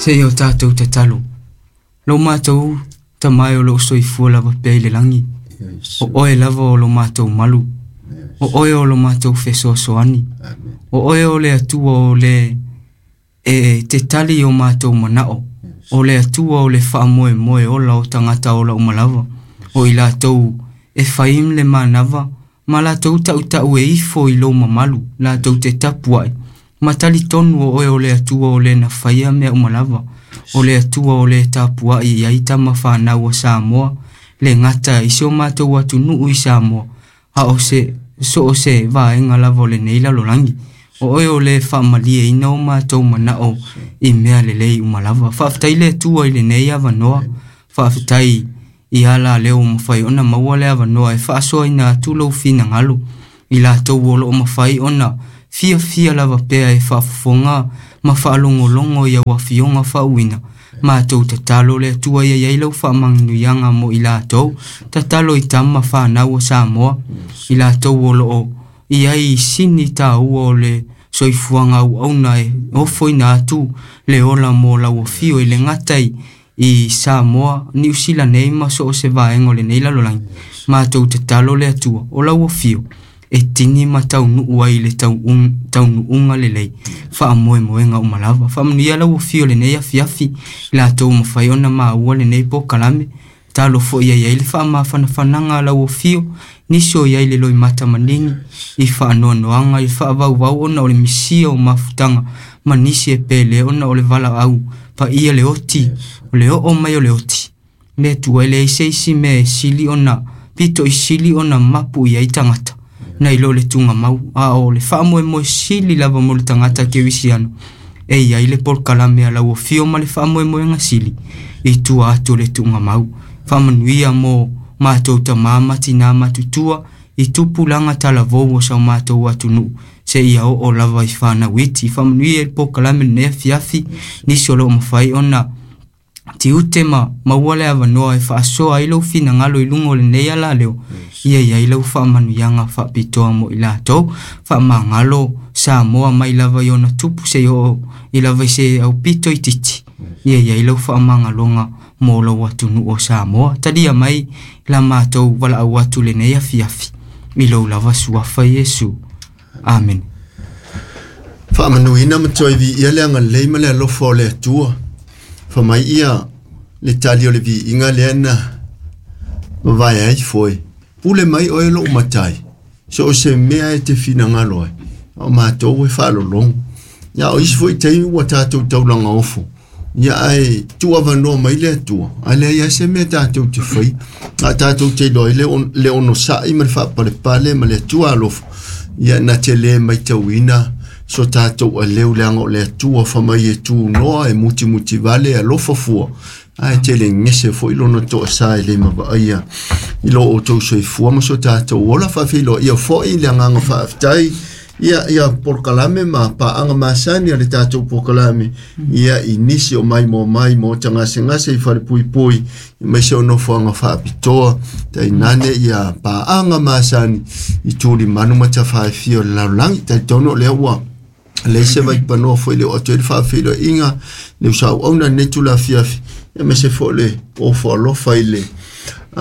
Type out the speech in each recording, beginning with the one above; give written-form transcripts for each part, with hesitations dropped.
Seia o tatou tatalo. Lo matou tamae o loo soifua lava pea i le lagi. O oe lava o lo matou malu. O oe o lo matou fesoasoani. O oe o le Atua o le e te tali o matou manao. O le Atua o le faamoemoe ola o tagata ola uma lava. O i latou e faim le manava ma latou tautau e ifo i lou mamalu, latou te tapuai. Ma talitonu o oe o le Atua o le na faia mea uma lava. O le Atua o le tapuai i ai tama whanau o Samoa, le gata i si o matou atunuu i Samoa, a o se so o se vaega lava o lenei lalolagi. O oe o le faamalieina o matou manao i mea lelei uma lava. Faafetai le Atua i lenei avanoa. Faafetai i ala lea ua mafai ona maua le avanoa e faasoaina atu lou finagalo i latou o loo mafai ona fiafia lava pea e faafofoga ma faalogologo i au afioga faauuina. Matou tatalo le Atua ia i ai lau faamanuiaga mo i latou. Tatalo i tama whanau o Samoa, i latou o loo i ai sini taua o le soifuaga auauna e ofoina atu le ola mo lau afio i le gata i Samoa, Niu Sila nei ma so o se vaega o lenei lalolagi. Matou tatalo le Atua o lau afio e tini ma taunuu ai le taunuuga lelei faamoemoega uma lava. Faamanuia lau afio lenei afiafi i latou mafai ona maua lenei polokalame. Talo foi ia i ai le faamafanafanaga a lau afio, nisi o i ai le loimata manini i faanoanoaga i faavauvau ona o le misia o mafutaga ma nisi e pele ona o le valaau paia le oti, o le oo mai o le oti. Le Atua e leai se isi mea e sili ona pito i sili ona mapu i ai tagata nai lo le tugamau, a o le faamoemoe sili lava mo le tagata kerisiano e i ai le polokalame a lau afio ma le faamoemoega sili i tua atu o le tugamau. Faamanuia mo matou tamā ma tinā matutua i tupulaga talavou o sa matou atunuu seia oo lava i whanau iti. Faamanuia i le polokalame lenei afiafi, nisi o loo mafai ona tiute ma maua le avanoa e faasoa ai lou finagalo i luga o lenei alaleo, ia i ai lau faamanuiaga faapitoa mo i latou. Faamagalo Samoa mai lava i ona tupu seia oo i lava i se aupito itiiti, ia i ai lau faamagaloga mo lou atunuu o Samoa. Talia mai la matou valaau atu lenei afiafi i lou lava suafa Iesu. Amen. Faamanuina ma toe viia le agalelei ma le alofa o le Atua. Faamai ia le tali o le viiga lea na mavae ai foe. Pule mai oe lou matai, so o se mea e te finagalo ai, o matou e faalologo. Ia o isi foi taimi ua tatou taulaga ofo, ia ae tuuavanoa mai le Atua, ae leai lava se mea tatou te faia. A tatou te iloa ai le onosai ma le faapalepale ma le Atua alofa, ia na te le maitauina so tatou aleu leaga o le Atua famai e tunoa e mutimutivale e alofa fua, ae tele gese foi lona toasā e le mavaaia i lo outou soifua ma so tatou ola. Faafeiloa ia foi le agaga faafetai ia ia polokalame ma paaga masani a le tatou polokalame ia i nisi o mai mo mai mo tagasegase i falepuipui aemaise o nofoaga faapitoa tainane ia paaga masani i tulimanu ma tafaefia o le lalolagi. Talitonu o lea ua leai se vaipanoa foi le oo atu ai le faafeiloaiga le usauauna lenei tulafiafi, aemaise foi le ofo alofa i le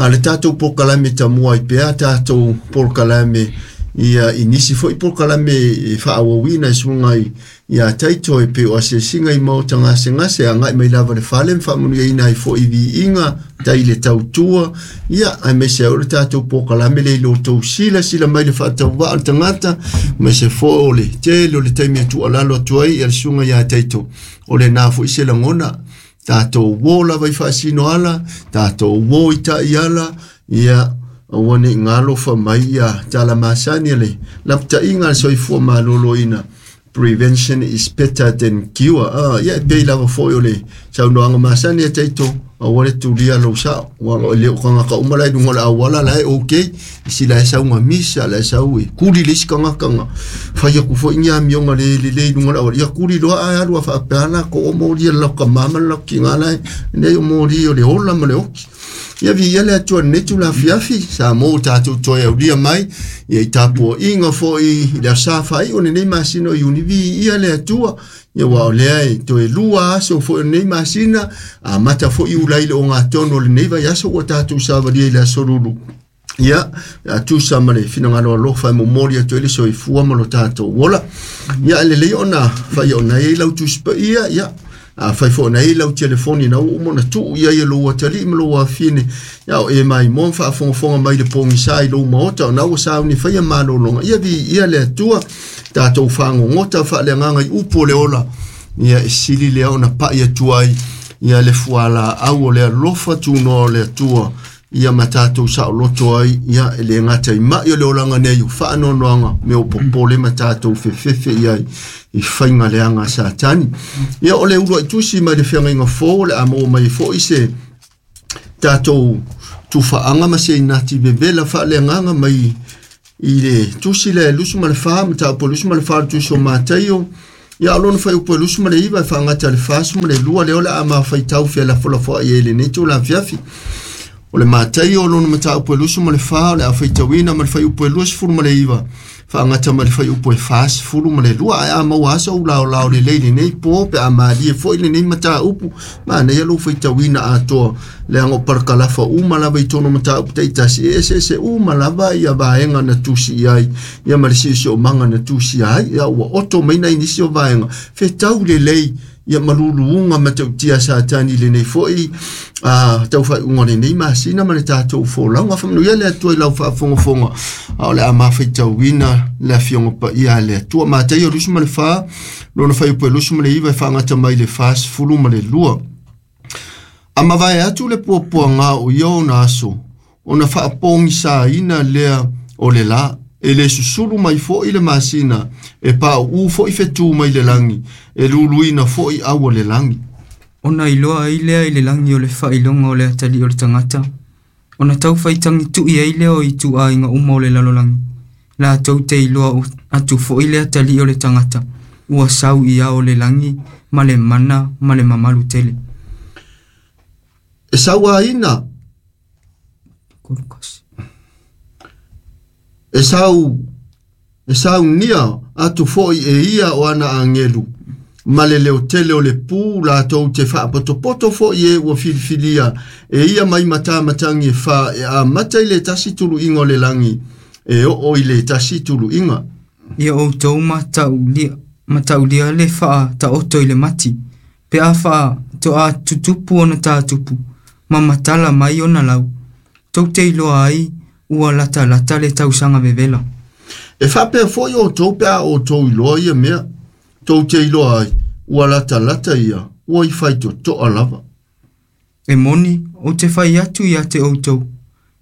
le tatou polokalame tamua ai pea tatou polokalame ia i nisi foi polokalame e faaauauina e suaga i ia taito e pei o asiasiga i maota gasegase agai mai lava le fale ma faamanuiaina ai foi i viiga tai le tautua, ia aemaise ai o le tatou polokalame le i lo outou silasila mai le faatauvaa o le tagata, aemaise foi o le tele o le taimi e tuualalo atu ai ia le susuga ia Taito, o lena foi se lagona tatou uō lava i faasino ala, tatou uō i taiala, ia aua ne i galofa mai ia tala masani a le lapataiga a le soifua maloloina. Prevention is better than cure. Ia e pei lava foi o le saunoaga masani a Taito, aua le tulia lou sao, ua o le o tagata uma la i luga o le auala la e okay, isi la e sau gamisa, la e sau e kuli le isi tagata ga fai aku foi ni amioga le lelei i luga o le auala, ia kuli loa ae alu a faapea la ko o moli e le laukamā ma le laukiga la e nei o moli o le ola ma le oki. Ia viia le Atua i lenei itula afiafi, sa mo tatou toe aulia mai, ia i tapuaiga foi i le aso Sa faaiu o lenei masina o Iuni, viia le Atua. Ia aua o lea e toe 2 aso foi o lenei masina, amata foi Iulai i le ogatonu o lenei vaiaso ua tatou savalia i le aso Lulu. Ia, a tusa ma le finagalo alofa e momoli atu ai le soifua ma lo tatou ola. Ia, e lelei ona fai ona e i lau Tusi Paia, ia, a fai foi ona e i lau telefoni na ua uma ona tuu i ai e lou atalii ma lou afine, ia o e mai mo faafogafoga mai le pogisa i lou maota ona ua sauni faia malologa. Ia viia le Atua, tatou fagogota faaleagaga i upu o le ola, ia e sili lea ona pai atu ai, ia le fualaau o le alofa tunoa o le Atua, ia ma tatou saoloto ai, ia e le gata i mai o le olaga nei o faanoanoaga me o popole ma tatou fefefe i ai i faiga leaga a Satani. Ia o le uluai tusi mai le feagaiga fou o le a maua mai foi se tatou tufaaga ma se inati vevela faaleagaga mai i le tusi lea e 24, mataupu e 24 le tusi o Mataio. Ia o lona fuaiupu e 29 e faagata i le 42 lea o le a mafaitau felafolafoai ai i lenei itula afiafi. O le Mataio o lona mataupu e 24 o le a faitauina ma le fuaiupu e 29 faagata ma le fuaiupu e 42. Ae a maua aso ou laolao lelei lenei po pe a malie foi lenei mataupu, manaia lou faitauina atoa leaga o parakalafa uma lava i tonu mataupu taitasi, e eseese uma lava ia vaega na tusi i ai, ia ma le siosiomaga na tusi ai, ia ua oto mai nai nisi o vaega fetau lelei ia maluluuga ma tautia Satani lenei foi tau faaiuga o lenei masina ma le tatou folauga. Faamanuia le Atua i lau faafogafoga, a o le a mafaitauina le afioga paia a le Atua. Mataio 24, lona fuaiupu e 29 e faagata mai le 42. A mavae atu le puapuaga o ia ona aso, ona faapogisaina lea o le la, e le susulu mai foi le masina, e pauu foi fetu mai le lagi, e luluina foi au o le lagi. Ona iloa ai lea i le lagi o le faailoga o le atalii o le tagata, ona tau faitagi tui ai lea o ituaiga uma o le lalolagi. Latou te iloa atu foi le atalii o le tagata, ua sau i ao o le lagi ma le mana ma le mamalu tele. E sauaina e saunia atu foi e ia o ana angelu, ma le leo tele o le pū latou te faapotopoto foi e ua filifilia e ia mai matamatangi e fa e amata i le tasi tuluiga o le lagi e oo i le tasi tuluiga. Ia outou mataulia le faataoto i le mati, pe a faatoa tutupu ona tatupu, ma matala mai ona lau. Tou te iloa ai ua latalata le tausaga vevela. E faapea foi outou pe a outou iloa ia mea, tou te iloa ai ua latalata ia, ua i faitotoa lava. E moni, ou te fai atu ia te outou,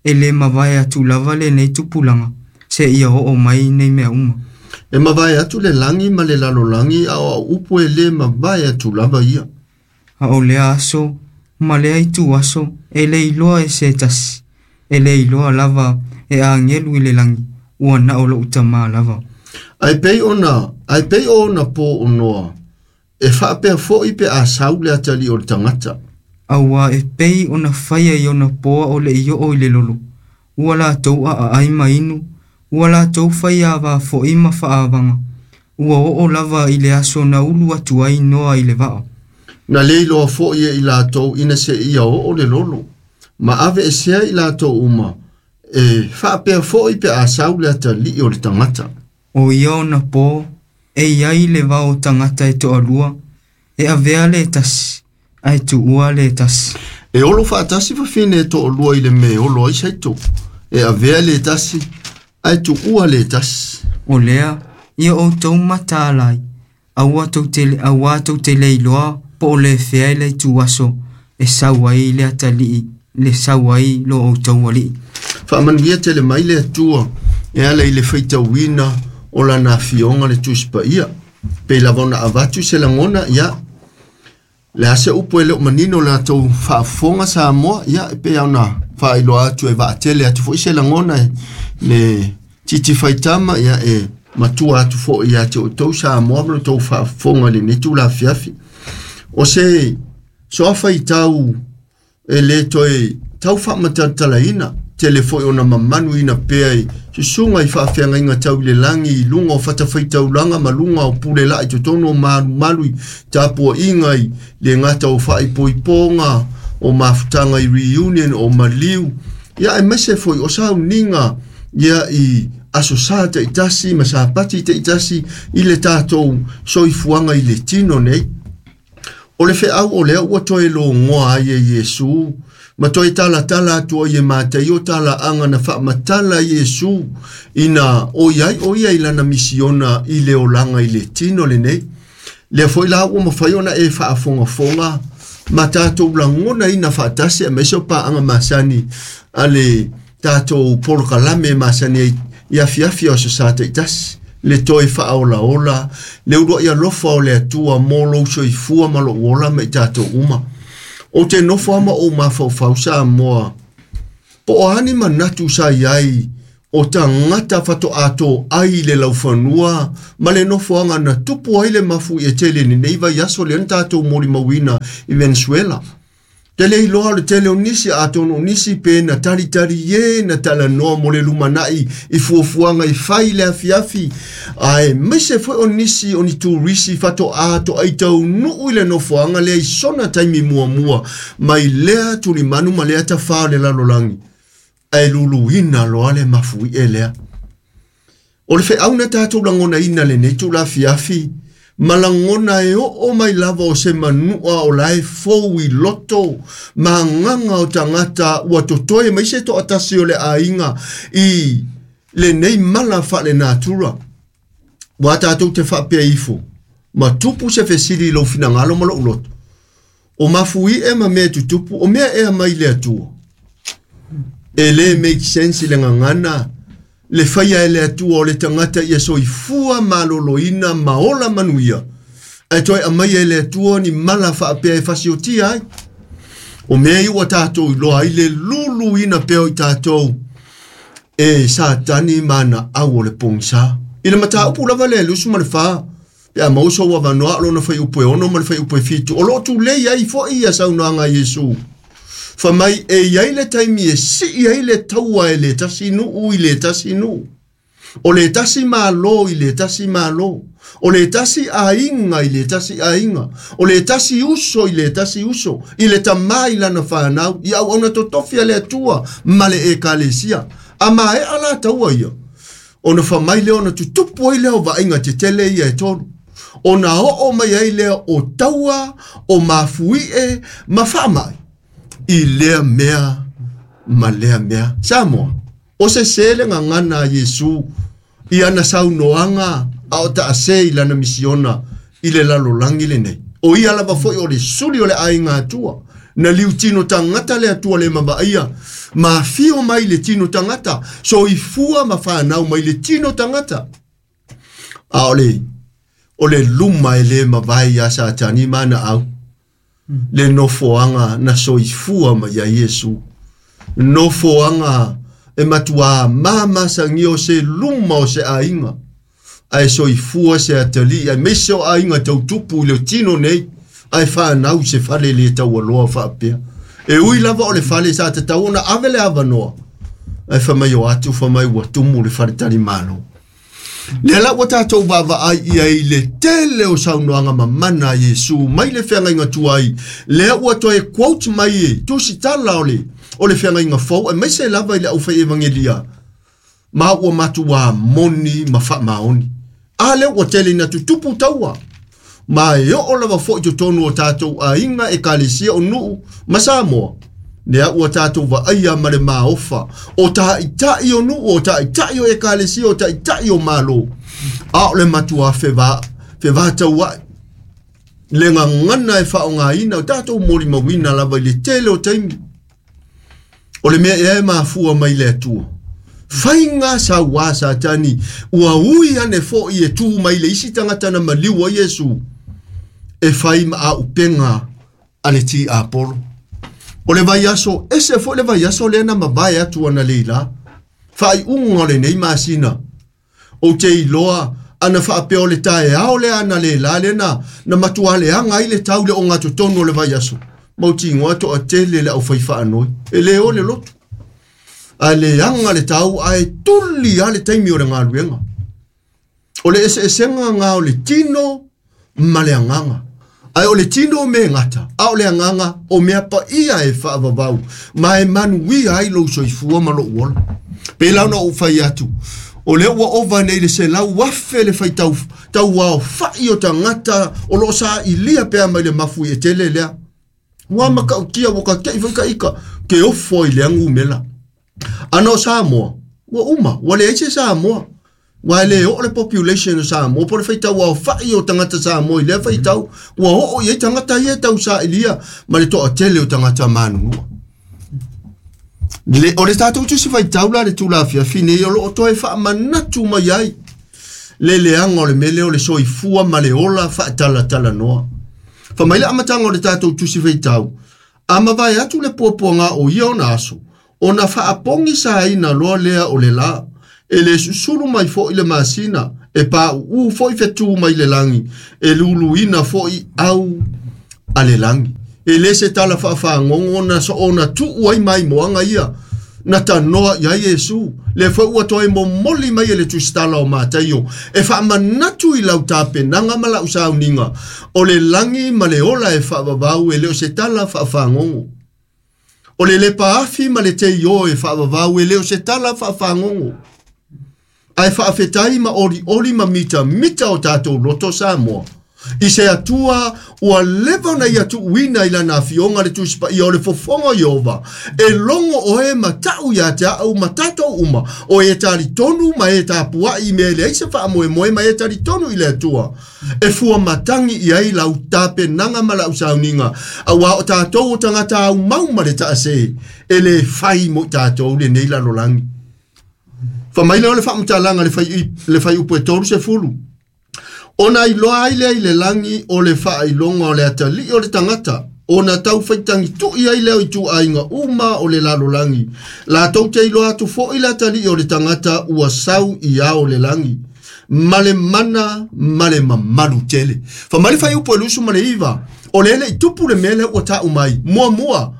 e le mavae atu lava lenei tupulaga, se ia oo mai nei mea uma. E mavae atu le lagi ma le lalolagi, a o au upu e le mavae atu lava ia. A o lea aso, ma lea itu aso, e le iloa e se tasi, e le iloa lava e agelu i le lagi, ua na o lou tamā lava. Ai pei ona po o Noa, e faapea foi pe a sau le atalii o le tagata. Auā e pei ona faia i ona poa o le i oo i le lolo, ua latou aaai ma inu, ua latou faiavā foi ma faaavaga, ua oo lava i le aso na ulu atu ai Noa i le vaa. Na le iloa foi e i latou ina se ia oo le lolo, ma ave e sea i latou uma, e faapea foi pe a sau le atalii o le tagata. O ia ona po, e iai le vao tagata e toalua, e avea le tasi, ae tuua le tasi. E olo faatasi fafine e toalua i le me olo ai saito, e avea le tasi, ae tuua le tasi. O lea, ia outou mataalai, aua tou te le iloa po o le fea i le itu aso, e sau ai le atalii, le sau ai lo outou alii. Faamanuia tele mai le Atua, e ala i le faitauina o lana afioga le Tusi Paia. Pei lava ona avatu se lagona, ia, le a se upu e leo manino latou faafofoga Samoa, ia, e pei ona faailoa atu e vaatele atu foi se lagona le titi faitama, ia, e matua atu foi ia te outou Samoa ma lo tou faafofoga i lenei itula afiafi. O se soa faitau e le toe tau faamatalatalaina tele foʻi ona mamanuina pea i susuga i faafeagaiga tau i le lagi i luga o fatafaitaulaga ma luga o pule laʻi totonu o malumalu i tapuaʻiga i le gata o faaipoipoga o mafutaga i reunion o maliu ia aemaise foi o sauniga ia i aso sa taʻitasi ma sapati taʻitasi i le tatou soifuaga i le tino nei. O le feau o lea ua toe logoa ai e Iesu ma toe talatala atu ai e Mataio talaaga na faamatala Iesu ina o iai o ia i lana misiona i le olaga i le tino lenei. Lea foi la ua mafai ona e faafogafoga ma tatou lagona ina faatasi aemaise o paaga masani a le tatou polokalame masani ai i afiafi o aso sa taʻitasi le toe faaolaola le uluaʻi alofa o le Atua mo lou soifua ma lou ola ma i tatou uma. O te nofo ama ou mafaufau Samoa po o a ni manatu sa iai o tagata fatoʻatō ai i le laufanua ma le nofoaga na tupu ai le mafuie tele lenei vaiaso lea na tatou molimauina i Venezuela. Tele iloa o le tele o nisi atonu o nisi pe na talitali e na talanoa mo le lumanaʻi i fuafuaga i fai le afiafi aemaise foi o nisi o ni turisi fatoʻā toʻai taunuu i le nofoaga lea i sona taimi muamua mai lea tulimanu ma lea tafā o le lalolagi ae luluina loa le mafuie lea. O le feau na tatou lagonaina lenei tulafiafi ma lagona e oo mai lava o se manua o lae fou i loto ma agaga o tagata ua totoe mai se toʻatasi o le aiga i lenei mala faalenatura. Ua tatou te faapea ifo ma tupu se fesili i lou finagalo ma lou loto. O mafuie ma mea tutupu o mea ea mai le Atua. E lē make sense i le gagana le faia e le Atua o le tagata ia soifua maloloina ma ola manuia ae toe aumaia e le Atua ni mala faapea e fasiotia ai. O mea ia ua tatou iloa ai le luluina pea o i tatou e Satani ma ana au o le pogisā. I le mataupu lava lea e 24 pe a maua sou avanoa o lona fuaiupu e 6 ma le fuaiupu e 7 o loo tulei ai foʻi ia saunoaga a Iesu. Fa mai e iai le taimi e sii ai le taua e le tasi nuu i le tasi nuu. O le tasi malo i le tasi malo. O le tasi aiga i le tasi aiga. O le tasi uso i le tasi uso. I le tamā i lana fanau. I auauna totofi a le Atua ma le ekalesia. A maea la taua ia. Ona fai mai lea ona tutupu ai lea o vaaiga tetele ia e tolu. Ona oo mai ai lea o taua, o mafuie, ma faamai. I lea mea ma lea mea. Samoa, o se se le gagana a Iesu i ana saunoaga a o taase i lana misiona i le lalolagi lenei. O ia lava foi o le suli o le aiga Atua. Na liu tino tagata le Atua le mavaaia. Ma afio mai le tino tagata. Soifua ma fanau mai le tino tagata. A o le luma e le mavae ia Satani ma ana au. Le nofoaga na soifua mai ia Iesu. Nofoaga e matuā mamasagia o se luma o se aiga. Ae soifua se atalii aemaise o aiga tautupu i le tino nei. Ae fanau se fale le taualoa faapea. E ui lava o le fale sa tatau ona ave le avanoa. Ae fai mai o atu fai mai ua tumu le fale talimalo. Lea la ua tatou vaavaai ia i le tele o saunoaga mamana a Iesu mai le feagaiga tuai. Lea ua toe quote mai e tusitala o le feagaiga fou aemaise lava i le aufai evangelia. Ma ua matuā moni ma faamaoni. A lea ua tele ina tutupu taua. Ma e oo lava foʻi totonu o tatou aiga ekalesia o nuu ma Samoa. Lea ua tatou vaaia ma le maofa o taʻitaʻi o nuu o taʻitaʻi o ekalesia o taʻitaʻi o malo. A o le matuā fevatauaʻi. Le gagana e faaaogāina o tatou molimauina lava i le tele o taimi. O le mea ea e mafua mai le Atua. Faiga sauā Satani ua ui ane foʻi e tū mai le isi tagata na maliu ai Iesu. E fai ma aupega a le tiapolo. O le vaiaso, ese foʻi le vaiaso lea na mavae atu ana leilā. Faaiuga o lenei masina. Ou te iloa ana faapea o le taeao lea ana leilā lea na matuā leaga ai le tau le ogatotonu o le vaiaso. Mautinoa toatele le aufai faanoi e lē o le lotu ae leaga le tau ae tuli a le taimi o le galuega. O le eseesega gā o le tino ma le agaga. Ae o le tino me gata, a o le agaga o mea paia e faavavau ma e manuia ai lou soifua ma lou ola. Pei la ona ou fai atu, o lea ua ova nei le 100,000 le faitau tauaofa'i o tagata o loo sa'ilia pea mai le mafu i e tele lea. Ua makautia ua kate'i foi ka'ika ke ofo i le agumela. Ana o Samoa, ua uma, ua leai se Samoa. Ua e le oo le population o Samoa, po le faitau aofa'i o tagata Samoa i lea faitau, ua oo i ai tagata ia e tausa'ilia ma le to'atele o tagata manunua. Le, o le tatou tusi faitau la le tulafiafi nei o loo toe faamanatu mai ai le leaga o le mea lea o le soifua ma le ola faatalatalanoa. Fa mai le amataga o le tatou tusi faitau, a mavae atu le puapuaga o ia ona aso, ona faapogi saina loa lea o le lā. E le susulu mai fo'i le masina, e pāuū fo'i fetū mai le lagi, e luluina fo'i au a le lagi. E lē se tala faafagogo na soona tuu ai maimoaga ia na tanoa i ai Iesu. Le foi ua toe momoli mai e le tusitala o Mataio e faamanatu i lau tapenaga ma lau sauniga o le lagi ma le ola e faavavau e le o se tala faafagogo. O le lepaafi ma le teiō e faavavau e le o se tala faafagogo. Ae faafetai ma olioli ma mitamita o tatou loto Samoa. I se Atua ua leva ona ia tuuina i lana afioga le Tusi Paia o le fofoga o Ieova, e logo oe ma ta'u iā te a'u ma tatou uma, o e talitonu ma e tapua'i i mea e leai se faamoemoe ma e talitonu i le Atua. E fua matagi i ai lau tapenaga ma lau sauniga, auā o tatou o tagata aumau ma le taasē, e lē fai mo i tatou lenei lalolagi. Fa mai lea o le faamatalaga le faiupu e 30. Ona iloa ai lea i le lagi o le faailoga o le atalii o le tagata, ona tau faitagitu'i ai lea o ituaiga uma o le lalolagi. Latou te iloa atu fo'i le atalii o le tagata ua sau i ao le lagi. Ma le mana ma le mamalu tele. Fa mai le faiupu e 29, o le ele i tupu le mea lea ua ta'u mai. Muamua,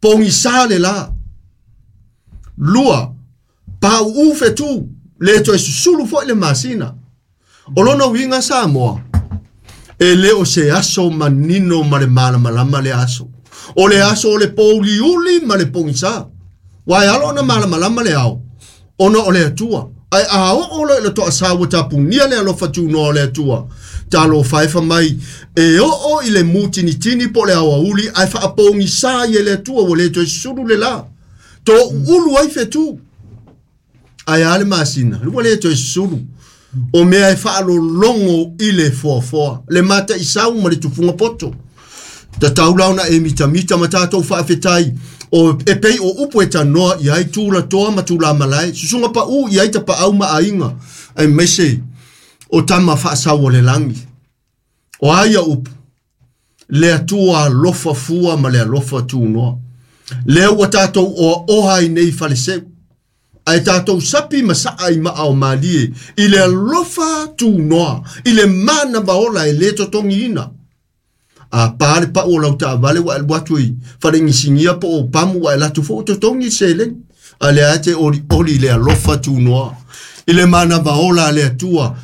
pogisā le lā. Lua, pau'ū fetū, le toe susulu fo'i le masina. O lona uiga Samoa, e lē o se aso manino ma le malamalama le aso. O le aso o le pouliuli ma le pogisā. Ua e alo ona malamalama le ao, ona o le Atua. Ae a oo loa i le toasā ua tapunia le alofa tunoa o le Atua. Talofa e fa mai, e oo i le mutinitini po o le aoauli ae faapogisā ai e le Atua ua lē toe susulu le lā. Toʻuulu ai fetū. Ae a le masina, ua lē toe susulu. O mea e faalologo i le foafoa, le mataʻisau ma le tufuga poto. Tatau la ona e mitamita ma tatou faafetai o e pei o upu e tanoa i ai tulatoa ma tulamalae, susuga paʻū i ai tapaau ma aiga, aemaise o tama faasau o le lagi. O a ia upu, le Atua alofa fua ma le alofa tunoa. Lea ua tatou oaoa ai nei faleseu, ae tatou sapi ma sa'a i maa o malie, i le alofa tunoa, i le manava ola e lē totogiina. A pā le pa'u o lau taavale ua e alu atu i falegisigia po o pamu ua e latu fo'u totogi le seleni. A lea te olioli i le alofa tunoa. I le manava ola a le Atua,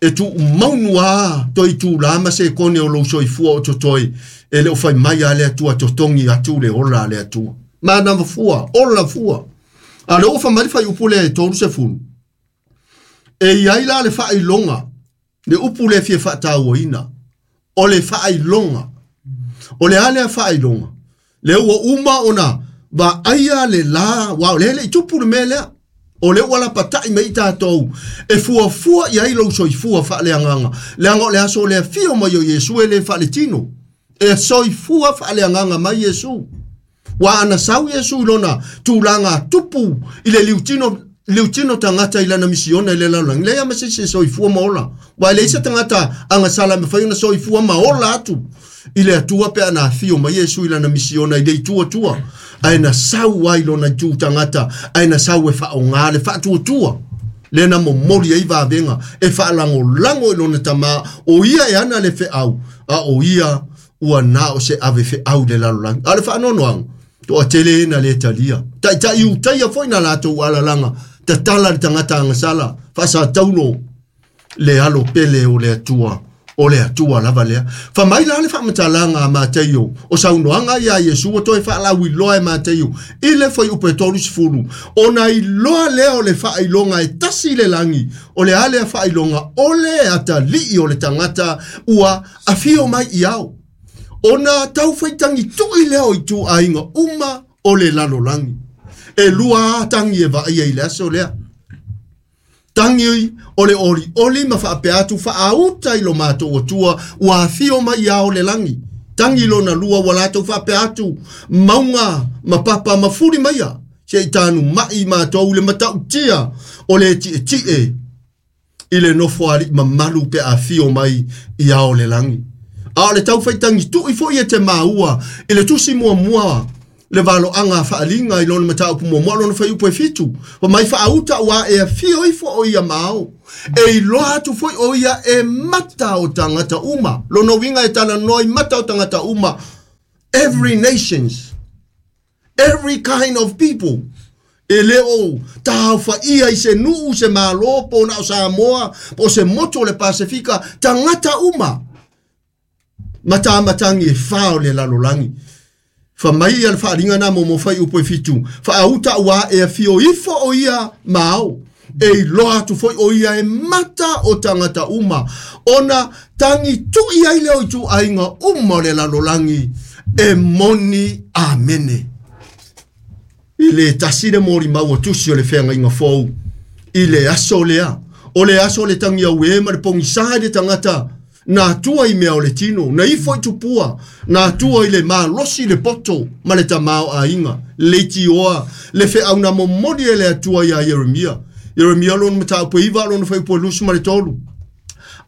e tuumaunu a toi tulā ma se kone o lou soifua o totoe, e le o fai mai a le Atua totogi atu le ola a le Atua. Manava fua, ola fua. A le oo fa mai le faiupu lea e 30. E iai la le faailoga, le upu lea fia faatauaina, o le faailoga. O le a lea faailoga? Lea ua uma ona vaaia le lā, ua o lea le i tupu le mea lea. O lea ua lapata'i mai i tatou, e fuafua i ai lou soifua faaleagaga. Leaga o le aso o le afio mai o Iesu e lē faaletino. E soifua faaleagaga mai Iesu. Ua ana sau Iesu i lona tulaga tupu i le liutino tagata i lana misiona i le lalolagi. Leai ma se isi e soifua ma ola. Ua e leai se tagata agasala e mafai ona soifua ma ola atu i le Atua pe ana afio mai Iesu i lana misiona i le itu Atua. Ae na sau ai lona itu tagata, ae na sau e faaogā le faatuatua. Lea na momoli ai vavega e faalagolago i lona tamā, o ia e ana le feau, a o ia ua na o se ave fe au le lalolagi. A le faanoanoaga, toatele na le talia. Taitai utaia foi na latou alalaga, tatala le tagata agasala, faasataulo le alo pele o le Atua. O le Atua lava lea. Fa mai la le faamatalaga a Mateio, o saunoaga ia Iesu ua toe faalauiloa e Mateio, i le fuaiupu e 30, ona iloa lea o le faailoga e tasi le lagi, o le a lea faailoga, o le atalii o le tagata ua afio mai i ao. Ona taufaitagi tui lea o ituaiga uma o le lalolagi. E lua tangi e vaaia i le aso lea. Tangi o le oli oli ma faapea atu faauta i lo matou Atua ua afio mai ia o le lagi. Tangi lona lua ua latou faapea atu mauga ma papa ma fuli maia se i tanu mai matou le matautia o le tietie i le nofo alii mamalu pe afio mai ia o le lagi. A o le taufaitangi tui foi e te maua i le tusi muamua le valoaga faaliga i lona mataupu muamua lona fuaiupu e 7. Fa mai faauta ua e afio ifo o ia mao. E iloa atu foi o ia e mata o tagata uma. Lona uiga e talanoa i mata o tagata uma. Every nations, every kind of people. E le o taofaia i se nuu se malo po na o Samoa po se motu o le Pasifika, tagata uma. Matamatangi e wha o le lalolagi. Fa mai ia le faaliga na mo mo fuaiupu e 7. Faauta ua e afio ifo o ia mao. E iloa atu foi o ia e mata o tagata uma. Ona tangi tui ai leo ituaiga uma o le lalolagi. E moni amene. I le tasi le molimau o tusi o le feagaiga fou. I le aso lea. O le aso le tangi au e ma le pogisa i le tagata. Na atua i mea o le tino, na ifo i tupua, na atua i le malosi le poto ma le tamao aiga, le itioa, le feauna momoli e le Atua ia Ieremia. Ieremia lona mataupu e 9 lona fuaiupu e 23.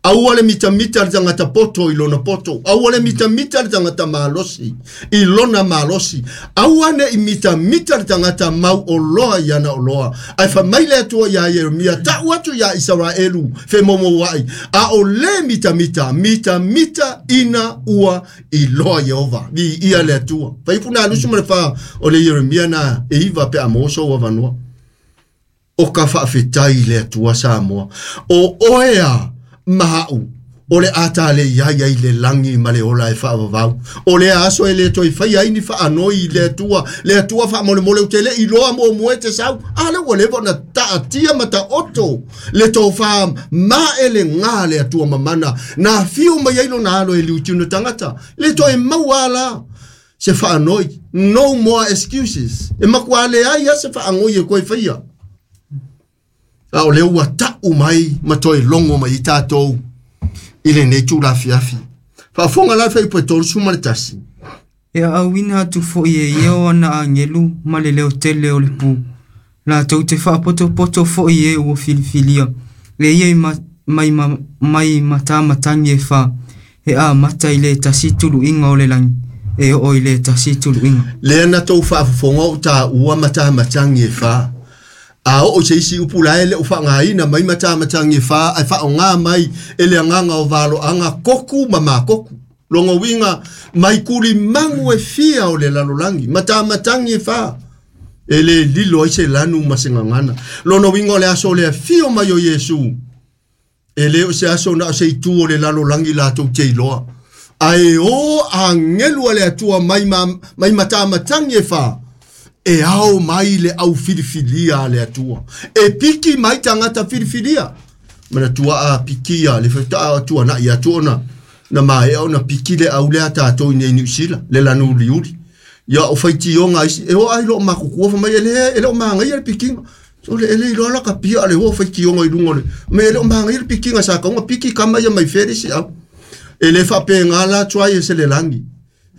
Aua le mitamita le tagata poto i lona poto, aua le mitamita le tagata malosi i lona malosi, aua ne i mitamita le tagata mau o loa i ana o loa. Ai fa mai le Atua ia Ieremia, tau atu ia Isaraelu, fe momouai, a o le mitamita, mitamita ina ua i loa Iehova, vi ia le Atua. Faipu na lusu ma le fa o le Ieremia na e iva pe a moso ua vanua. O ka faafetai le Atua Samoa. O oea mahau o le ata le ia ia i le langi ma le ola e faavavau. O le aso e le toi fai ai ni faanoi i le Atua. Le Atua faamolemole o te le iloa mo moe te sau. A le ua leva na taatia ma taoto. Le tofā ma e le ngā le Atua mamana. Na whio mai ai lona alo e liutino tangata. Le toi maua la. Se faanoi. No more excuses. E makua le ai a se faangoi e koe whaia. A o le ua tau mai ma toi longo mai i tātou i le nei tūlafiafi. Faafofoga la fuaiupu e 31. E auina atu foi e ia o ana agelu ma le leo tele o le pu. Latou te faapotopoto foi e ua filifilia. E ia i mai matamatangi e wha. E a mata i le tasi tuluiga o le langi. E oo i le tasi tuluiga. Lea na tou faafofoga o tāua matamatangi e wha. A o se isi upu la ele o whangaina mai matamatangi e wha, ai whaonga mai e le anganga o valoanga koku ma makoku. Longo winga mai kuli mangu e fia o le lalolangi, matamatangi e wha. E le lilo ai se lanu ma se ngangana. Lono winga o le aso le fio mai o Yesu. E le o se aso na o se itu o le lalolangi la tau te iloa. Ae o angelu a le atua mai, mai matamatangi e wha. E ao mai le au filifilia a le atua. E piki mai tangata filifilia. Mana tua a pikia le whata atua na i atua na. Na mai au na piki le au le tātou i nei New Zealand, le lanu uliuli. Ia o whaitionga isi, e o ai lo makukua fa mai ele, ele o maangai le pikinga. So le ele iloa la ka pia le o whaitionga i lunga le. Me ele o maangai le pikinga sa kaunga piki kama ia mai ferisi au. Ele whapenga la tua i se le langi.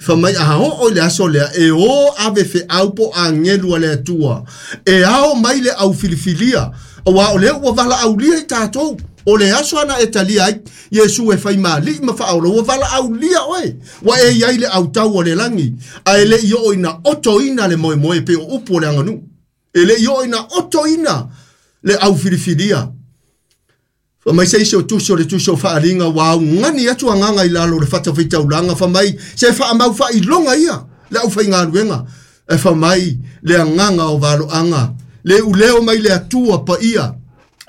Fa mai a o le aso lea, e o ave fe au po angelu a le atua. E ao mai le au filifilia. Aua o le ua vala aulia i tātou. O le aso ana e talia ai, Iesu e whai maali ma whaola, ua vala aulia oe. Wa e iai le au tau o le langi. A ele i o ina oto ina le moe moe pe o upu o le anganu. Ele i o ina oto ina le au filifilia. Fa mai se isi o tusi o le tusi o faaaliga ua augani atu agaga i lalo o le fatafaitaulaga fa mai se faamau faailoga ia le aufaigaluega e fa mai le agaga o valoaga le uleo mai le Atua paia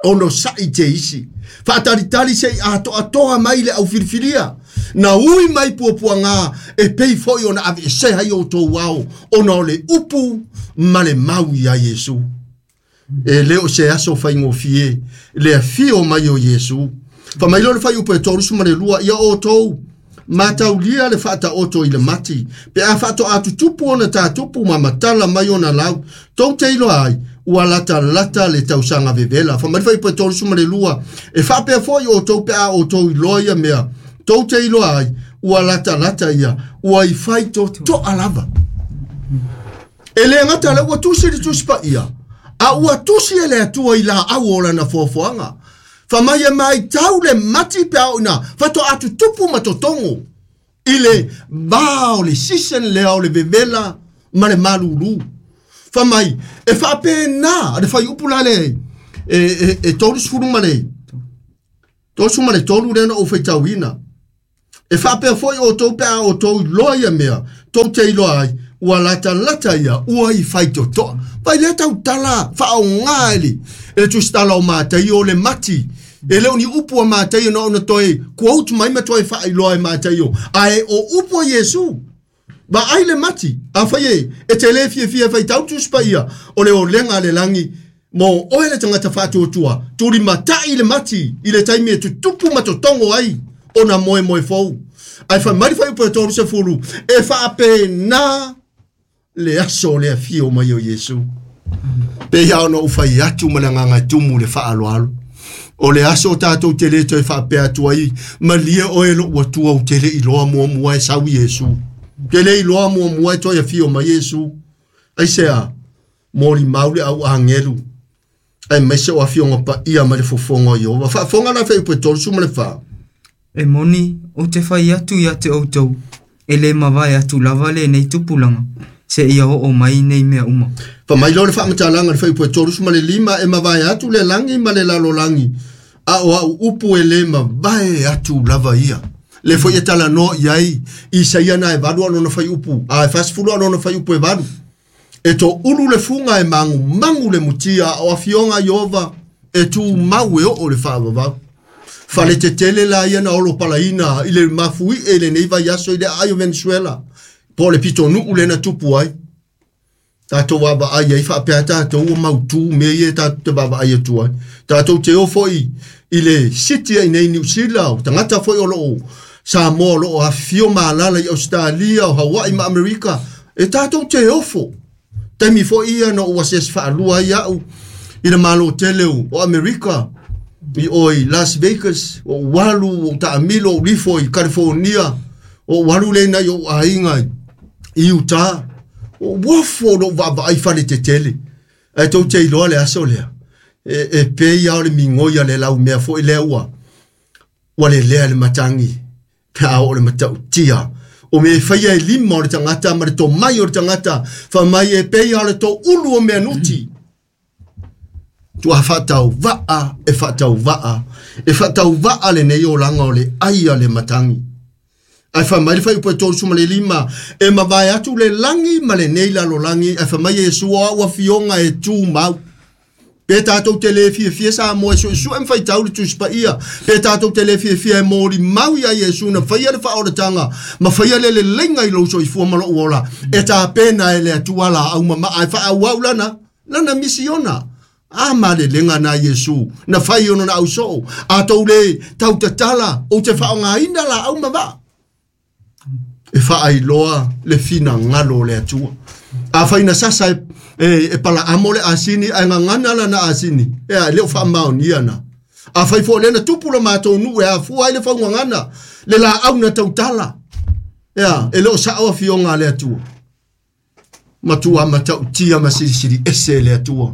ono sa'i te isi faatalitali se'i atoatoa mai le aufilifilia na ui mai puapuaga e pei fo'i ona aveesea ai outou ao ona o le upu ma le mau ia Iesu. E le o se aso faigofie le afio mai o Iesu. Fa mai leo le faiupu e 32 ia outou mataulia le faataoto i le mati pe a faatoa tutupu ona tatupu ma matala mai ona lau tou te iloa ai ua latalata le tausaga vevela. Fa mai le faiupu e 32 e faapea fo'i outou pe a outou iloa ia mea tou te iloa ai ua latalata ia ua i fai toto'a lava. E le gata le ua tusi le tusi paia a ua tusi e le Atua i laau o lana foafoaga. Fa mai e mai tau le mati pe a o ina faatoa tutupu ma totogo i le va o le season lea o le vevela ma le malulu. Fa mai e faapena le faiupu la le e 33 lea na ou faitauina. E faapea fo'i outou pe a outou iloa ia mea tou te iloa ai ua latalata ia ua i faitotoa. Vai lea tautala faaogā e le tusitala o Mataio o le mati. E le o ni upu a Mataio na ona toe quote mai ma toe faailoa e Mataio ae o upu a Iesu. Vaai le mati afai e te lē fiafia e faitau tusi paia o le olega a le lagi mo oe le tagata faatuatua tulimata'i le mati i le taimi e tutupu ma totogo ai ona moemoe fou. Ae fai mai le faiupu e 30 e faapena le aso o le afio mai o Iesu. Pe ia ona ou fai atu ma le agaga e tumu le faaaloalo. O le aso o tatou te lē toe faapea atu ai malie oe lo'u Atua ou te le iloa muamua e sau Iesu. Te le iloa muamua e toe afio mai Iesu. Aisea molimau le au agelu ae maise o afioga paia ma le fofoga o Ieova. Faafoga la faiupu e 34. E moni ou te fai atu ia te outou e lē mavae atu lava lenei tupulaga seia oo mai nei mea uma. Fa mai leo le faamatalaga le faiupu e 35 e mavae atu le lagi ma le lalolagi a o au upu e lē mavae atu lava ia. Le foi e talanoa i ai Isaia na e 8 alona faiupu a e 40 alona faiupu e 8. E toʻulu le fuga e magumagu le mutia a o afioga Ieova e tumau e oo le faavavau. Fale tetele la ia na olo palaina i le mafui'e i lenei vaiaso i le aai o Venezuela po o le pitonuu lena tupu ai. Tatou vaavaai ai faapea tatou ua mautū mea ia tatou te vaavaai atu ai. Tatou te o fo'i i le city ai nei Niu Sila o tagata fo'i o loo Samoa o loo afifio ma alaala i Ausetalia o Hawaii ma Amerika e tatou te ofo. Taimi fo'i ia na ou asiasi faalua ai a'u i le malo tele o Amerika i o i Las Vegas o ou alu ou taamilo ou lifo i California o ou alu lena i ou aiga i Utah o uafo lou vaavaai fale tetele ae tou te iloa le aso lea e pei a o le migoi a le laumea fo'i lea ua lelea le matagi pe a oo le matautia o mea e faia e lima o le tagata ma le tomai o le tagata fa mai e pei a o le toʻulu o mea nuti. Tua faatauva'a e faatauva'a e faatauva'a lenei olaga o le ai a le matagi. Ae fa mai le faiupu e 35 e mavae atu le lagi ma lenei lalolagi ae fa mai Iesu o au afioga e tumau. Pe tatou te lē fiafia Samoa e suesue ma faitau le tusi paia. Pe tatou te lē fiafia e molimau ia Iesu na faia le faaolataga ma faia le leleiga i lou soifua ma lou ola. E tapena e le Atua laau mamaa e faaauau lana misiona. A malelega na Iesu na fai ona na ausoo a tou lē tautatala ou te faaaogāina laau mavaa. E faailoa le finagalo o le Atua. A faina sasa e palaamo le asini ae gagana lana asini e le o faamaonia na. A fai fo'i lena tupu le matou nuu e afua ai le faugagana le laau na tautala e le o sa'o afioga a le Atua. Matua matautia ma silisili ese le Atua.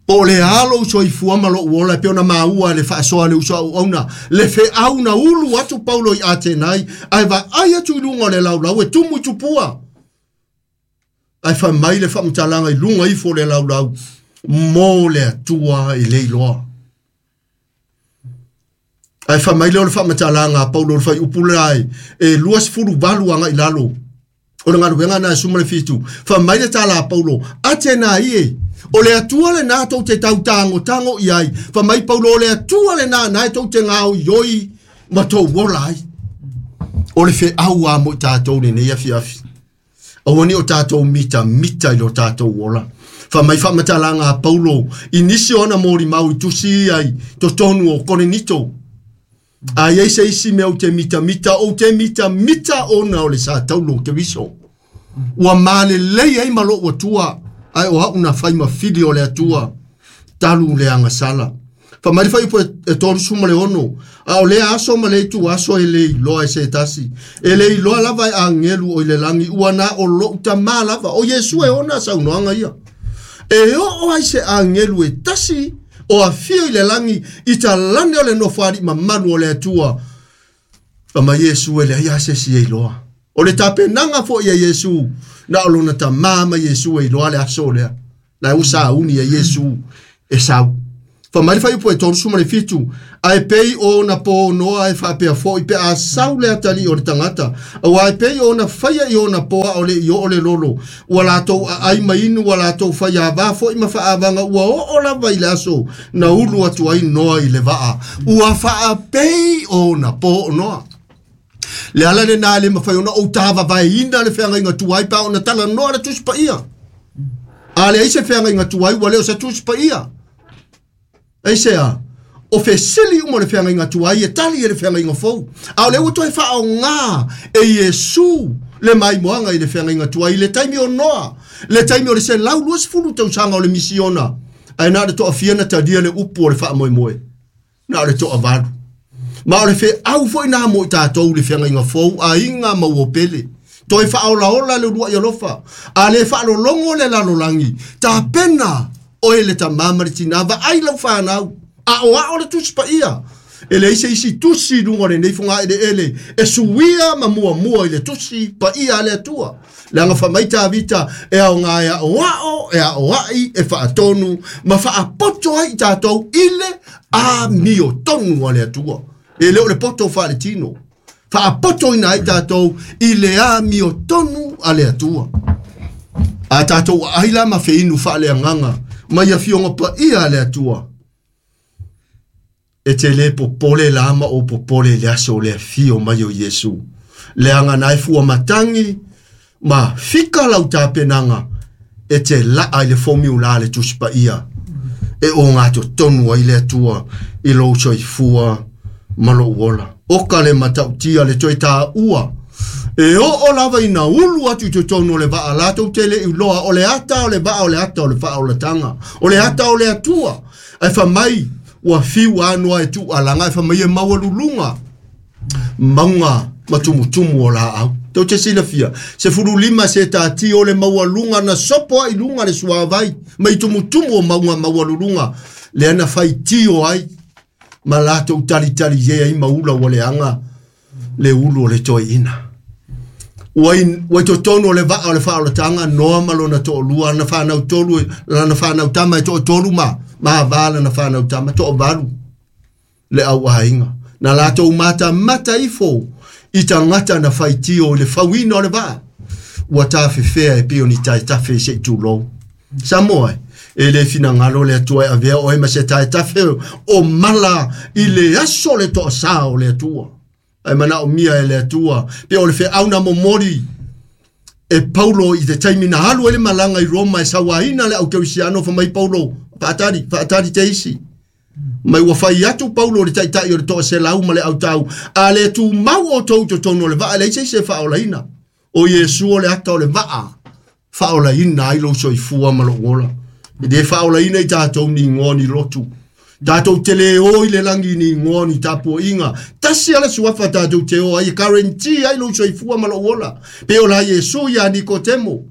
Po o le alo soifua ma lou ola e pei ona maua le faasoa le uso auauna le feau na ulu atu Paulo i Atenai ae vaai atu i luga o le laulau e tumu i tupua. Ae fai mai le faamatalaga i luga ifo o le laulau mo le Atua e le iloa. Ae faamai lea o le faamatalaga a Paulo o le fuaiupu lea e 28 agai i lalo o le galuega na e 17. Faamai le tala a Paulo, Atena ie, o le Atua lenā tou te tautagotago i ai. Faamai Paulo, o le Atua lenā na e tou te gaoioi ma tou ola ai. O le feau a mo i tatou lenei afiafi. Aua ne i o tatou mitamita i lo tatou ola. Faamai faamatalaga a Paulo i nisi o ana molimau i tusi ia i totonu o Korinito. A i ai se isi mea ou te mitamita, ou te mitamita ona o le sa taulo o Keriso. Ua malelei ai ma lou Atua, ae o au na fai ma fili o le Atua, talu le agasala. Faamai le fuaiupu e 36, a o lea aso ma lea ituaso e le iloa e se tasi, e le iloa lava e agelu o i le lagi, ua na o lou Tamā lava, o Iesu e ona saunoaga ia. E oo ai se agelu e tasi o afio i le lagi i talane o le nofoalii mamalu o le Atua. Faamai Iesu e leai lava se isi e iloa. O le tapenaga foi a Iesu, na o lona Tamā ma Iesu e iloa le aso lea. La ua sauni e Iesu e sau. Faamai le fuaiupu e 37, ae pei o ona po noa e faapea foi pe a sau le atalii o le tagata, aua e pei o ona faia i ona po a o le i oo le lolo, ua latou aai ma inu, ua latou faiava foi ma faaavaga, ua oo lava i le aso na ulu atu ai Noa i le vaa, ua faapei o ona po noa. Le ala lenā e le mafai ona ou tāvavaeina le feagaiga tuai pe a ona talanoa le Tusi Paia. A leai se feagaiga tuai, ua le o se Tusi Paia. Aisea? O fesili uma o le feagaiga tuai e tali e le feagaiga fou. A o lea ua toe faaaoga e Iesu le maimoaga i le feagaiga tuai i le taimi o Noa, le taimi o le 120 tausaga o le misiona, ae na o le toafia na talia le upu o le faamoemoe. Na o le toavalu. Ma o le feau foi nā mo i tatou i le feagaiga fou, aiga ma uo pele. Toe faaolaola le uluai alofa, a le faalologo le lalolagi, tapena oe le tamā ma le tinā, vaai lau fanau, aoao le Tusi Paia. E leai se isi tusi i luga o lenei fogaeleele e suia ma muamua i le Tusi Paia a le Atua. Leaga fai mai Tavita, e aoga e aoao, e aoai, e faatonu, ma faapoto ai i tatou i le amiotonu a le Atua. E le o le poto faaletino. Faapotoina ai tatou i le amiotonu a le Atua. A tatou aai la ma feinu faaleagaga mai afioga paia a le Atua, e te le popole la ma ou popole i le aso o le afio mai o Iesu. Leaga na e fua matagi ma fika lau tapenaga e te laa i le fomiula a le Tusi Paia e ogatotonu ai le Atua i lou soifua ma lou ola. Oka le matautia le toe taua e oo lava ina ulu atu i totonu o le vaa latou te le i iloa o le ata o le vaa o le ata o le faaolataga o le ata o le Atua. Ae fai mai ua fiu lava Noa e tuualaga ae fai mai e maualuluga mauga ma tumutumu o laau. Tou te silafia, 15 setati o le maualuga na sopo ai i luga le suavai mai tumutumu o mauga maualuluga lea na faitio ai ma latou talitali ai ma ula ua leaga le ulu o le toeaina. Ua i, ua i totonu o le vaa o le faaolataga Noa ma lona toalua, lana fanau tolu, lana fanau tama e toatolu ma ma ava lana fanau tama, toavalu le au aiga. Na latou matamata ifo i tagata na faitio i le fauina o le vaa, ua tafefea e pei o ni taetafe se i tulou. Samoa e, e le finagalo le Atua e avea oe ma se taetafe o mala i le aso o le toasā o le Atua. Ae manaomia e le Atua, pe o le feau na momoli e Paulo i te taimi na alu ai le malaga i Roma e sauaina le au kerisiano, fai mai Paulo, faatali, faatali te isi. Mai ua fai atu Paulo i le taitai o le toaselau ma le autau, a le tumau outou i totonu o le vaa, e leai se isi e faaolaina. O Iesu o le ata o le vaa, faaolaina ai lou soifua ma lou ola. E le faaolaina i tatou ni igoa ni lotu. Tatou te le o i le lagi ni igoa ni tapuaiga. Tasi lava le suafa tatou te o ai e guarantee ai lou soifua ma lou ola. Pei o la Iesu ia Nikotemo.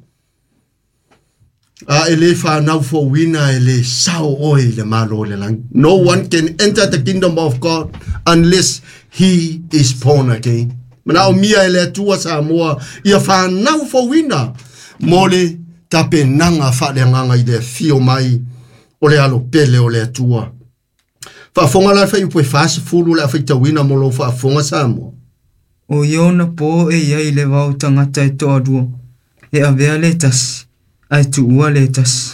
A e le fanau fouina e le sao oe i le Malo o le lagi. No one can enter the kingdom of God unless he is born again. Manaomia e le Atua Samoa ia fanau fouina mo le tapenaga faaleagaga i le afio mai o le alo pele o le Atua. Faafoga la le fuaiupu e 40 le a faitauina mo lou faafofoga Samoa. O ia ona po e i ai le vao tagata e toalua, e avea le tasi, ae tuua le tasi.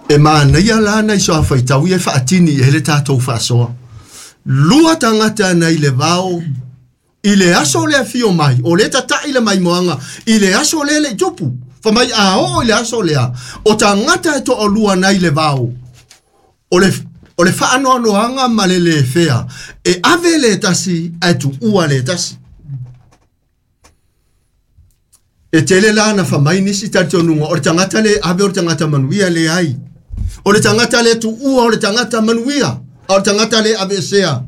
E manaia la nai soa faitau ia e faatini i ai le tatou faasoa. Lua tagata nai le vao i le aso le afio mai, o le tata'i le maimoaga i le aso lea le i tupu. Fa mai a oo i le aso lea, o tagata e toalua nai le vao, o le faanoanoaga ma le lefea, e ave le tasi ae tuua le tasi. E tele la na famai nisi talitonuga, o le tagata le ave o le tagata manuia le ai. O le tagata le tuua o le tagata manuia, a o le tagata le aveesea,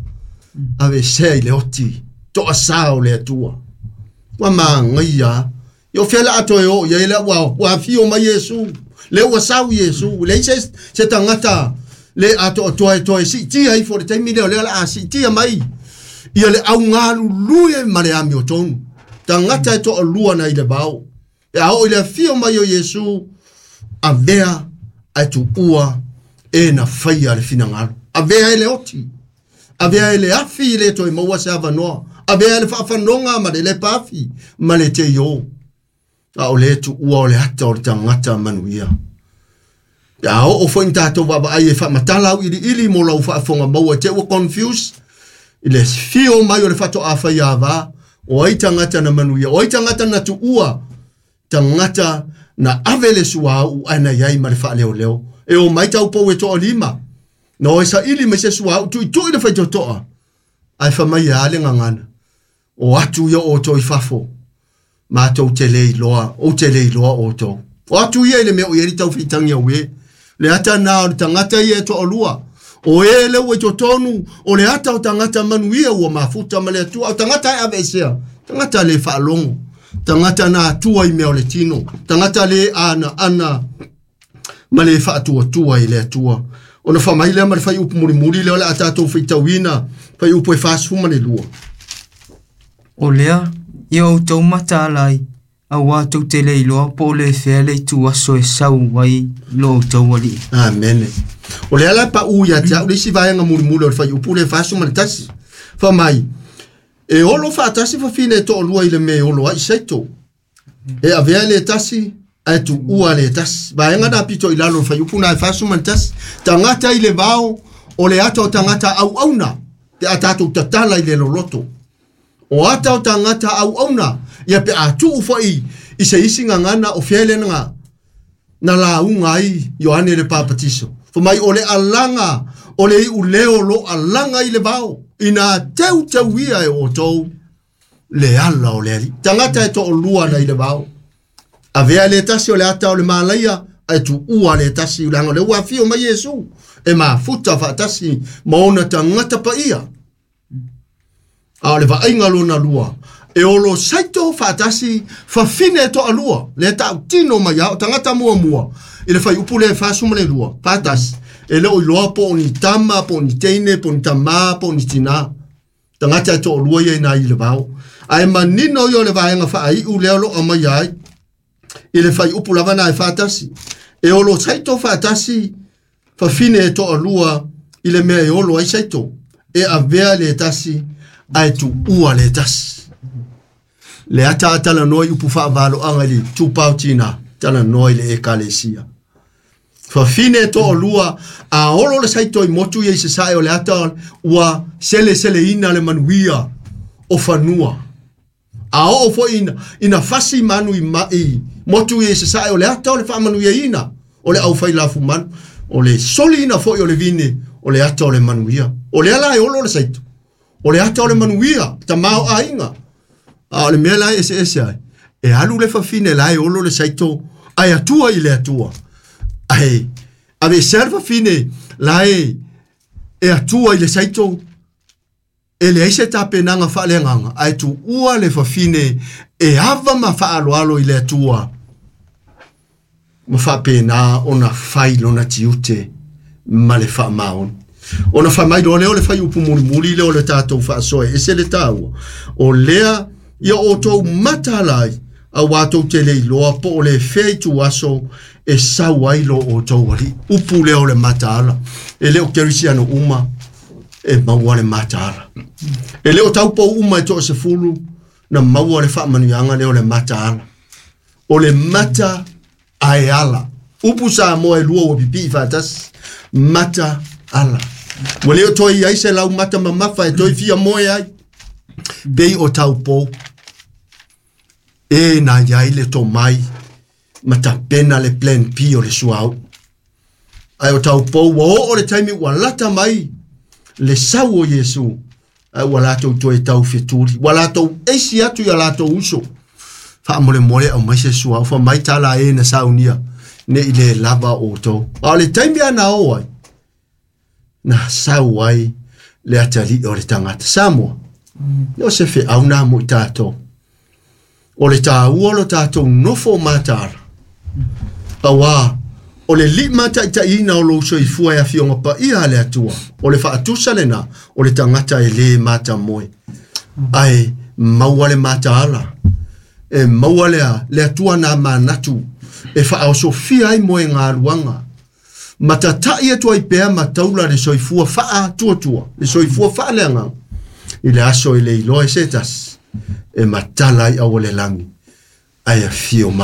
aveesea i le oti, toasā o le Atua. Ua magaia, i o fea la atoe o ia le ua afio mai Iesu, le ua sau Iesu, le se tagata le atoatoa e toe siitia ifo le taimi lea o lea o le a siitia mai ia le augalulue ma le amiotonu. Tagata e toalua nai le vao. E a oo i le afio mai o Iesu, avea ae tuua e na faia le finagalo. Avea e le oti, avea e le afi i le toe maua se avanoa, avea e le faafanoga ma le lepa afi ma le teio. A o le tuua o le ata o le tagata manuia. Pe a oo foi ni tatou vaavaai e faamatala auiliili mo lau faafofoga maua te ua confuse i le fio mai o le faatoafai avā, o ai tagata na manuia, o ai tagata na tuua, tagata na ave le suauu ae na iai ma le faaleoleo. E o mai taupou e toalima, na o e saili mai se suauu tuitui le faitotoa, ae famai e a le gagana, o atu ia outou i fafo, matou te le iloa, ou te le iloa outou. O atu ia i le mea o i ai le taufeitagi au e. Le ata na o le tagata ia e toalua. O e le ua i totonu, o le ata o tagata manuia ua mafuta ma le Atua. O tagata e aveesea, tagata le faalogo, tagata na atua i mea o le tino, tagata le ana ana ma le faatuatua i le Atua. Ona faamai lea ma le fuaiupu mulimuli lea o le a tatou faitauina, fuaiupu e 42. O lea, ia outou mataala ai, auā tou te le iloa po o le fea le itu aso e sau ai lo outou alii. Amene. O lea la paʻu ia te au le isi vaega mulimuli o le fuaiupu le 41. Faamai, e olo faatasi fafine e toalua i le mea e olo ai saito. E avea le tasi, ae tuua le tasi. Vaega na pito i lalo o le fuaiupu na e 41. Tagata i le vao, o le ata o tagata auauna, pe a tatou tatala i le loloto. O ata o tagata auauna, ia pe a tuu foi i se isi gagana o fea le na lauga ai Ioane le Papatiso. Famai o le alaga, o le iuleo lo alaga i le vao, ina teuteuia e outou le ala o le alii. Tagata e toalua na i le vao. Avea le tasi o le ata o le malaia, ae tuua le tasi leaga o le ua afio mai Iesu, e mafuta faatasi ma ona tagata paia. A o le vaaiga lona lua, e olo saito faatasi fafine e toalua, le tautino mai a o tagata muamua i le fuaiupu le 42, faatasi, e le o iloa po o ni tama, po o ni teine, po o ni tamā, po o ni tinā. Tagata e toalua ia ina i le vao. Ae manino ia o le vaega faaiu lea o loo aumaia ai i le fuaiupu lava na e faatasi. E olo saito faatasi fafine e toalua i le mea e olo ai saito. E avea le tasi ae tuua le tasi. Le ata atalanoa i upu faavaloaga i le tupao tina, talanoa i le ekalesia. Fafine e toalua, a olo le saito i motu ia i se sae o le ata ua seleseleina le manuia o fanua. A oo foi ina fasi manu i motu ia i se sae o le ata o le faamanuiaina o le aufai lafu manu, o le soliina foi o le vine o le ata o le manuia. O lea la e olo le saito, o le ata o le manuia, tamā o aiga. A o le mea la e eseese ai, e alu le fafine la e olo le saito, ae atua i le Atua. Ae aveesea le fafine la e atua i le saito, e leai se tapenaga faaleagaga, ae tuua le fafine e ava ma faaloalo i le Atua, ma faapena ona fai lona tiute ma le faamaoni. Ona faamai loa lea o le fuaiupu mulimuli lea o le tatou faasoa e ese le taua. O lea ia outou mataala ai, auā tou te le iloa po o le fea itu aso e sau ai lo outou alii. Upu lea o le mataala. E le o kerisiano uma, E maua le mataala. E le o taupou uma e toa 10 na maua le faamanuiaga lea o le mataala. O le mata ae ala. Upu Samoa e lua ua pipii faatasi. Mata ala. Ua le o toe i ai se lau mata mamafa e toe fia moe ai. Pei o taupou. E na iai le tomai ma tapena le plan P o le suauu. Ae o taupou ua oo le taimi ua lata mai le sau o Iesu. Ae ua latou toe tau fetuli. Ua latou eisi atu ia latou uso. Faamolemole au mai se suauu. Fa mai tala e na saunia. Ne i le lava o tau. A o le taimi ana o ai. Na sau ai le atali o le tangata. Samoa. O se feau na mo i tātou. O le tāua lo tātou nofo mataala. Auā, o le lima taitaiina o lou soifua e afioga paia a le Atua, o le faatusa lena, o le tagata e lē matamoe. Ae maua le mataala, e maua lea, le Atua na manatu, e faaosofia ai moe galuaga. Ma tata'i atu ai pea ma taula le soifua faatuatua, le soifua faaleagaga, i le aso e le iloa e se tasi, e matala ai au o le lagi, ae afio mai.